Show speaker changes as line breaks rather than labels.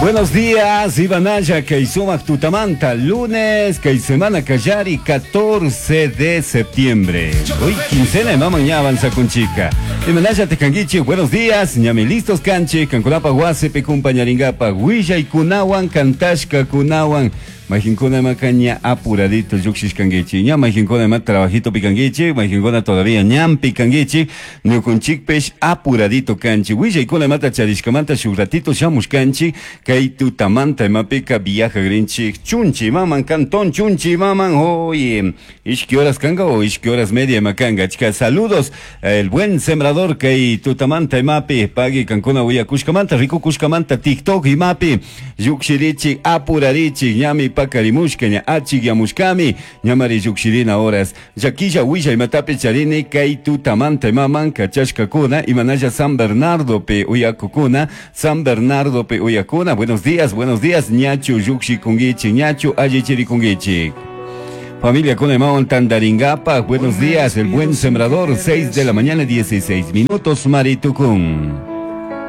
Buenos días, Ivanaya, kay sumak tutamanta, lunes, kay semana kallari, 14 de septiembre. Hoy quincena imaman ña avanza con chica. Imanaya tekanguichi, buenos días, ñami listos canchi, kankunapa wasipi kumpañaringapa, willaykunawan, kantashka kunawan. Mayqinkuna imaqa ña apuradito lluqshishkankichik, ña mayqinkuna ima trabajitopi kankichik, mayqinkuna todavía ñanpi kankichik, ñuqunchikpish apuradito kanchik. Willaykuna imata charishkamanta shuk ratito shamushkanchik, kay tutamanta imapika viajagrinchik Chunchi imaman, cantón Chunchi imaman, oye, ishki horas kanga o ishki horas media ima kanga. Achka saludos, el buen sembrador kay tutamanta imapi, pagui kankuna willakushkamanta, rikukushkamanta, TikTok imapi, llukshirichik, apurarichik, ñami pakarimushka, ña achikyamushkami, ñamari llukshirina horas. Llaquilla willa imatapi charini kay tutamanta imaman kachashkakuna, imanalla San Bernardopi uyakukuna, San Bernardopi uyakuna. Buenos días, buenos días, ñachu llukshikunkichik, ñachu allichirikunkichik. Familia con imawan tandaringapa, buenos días, el buen sembrador, 6 de la mañana, 16 minutos, Maritukun.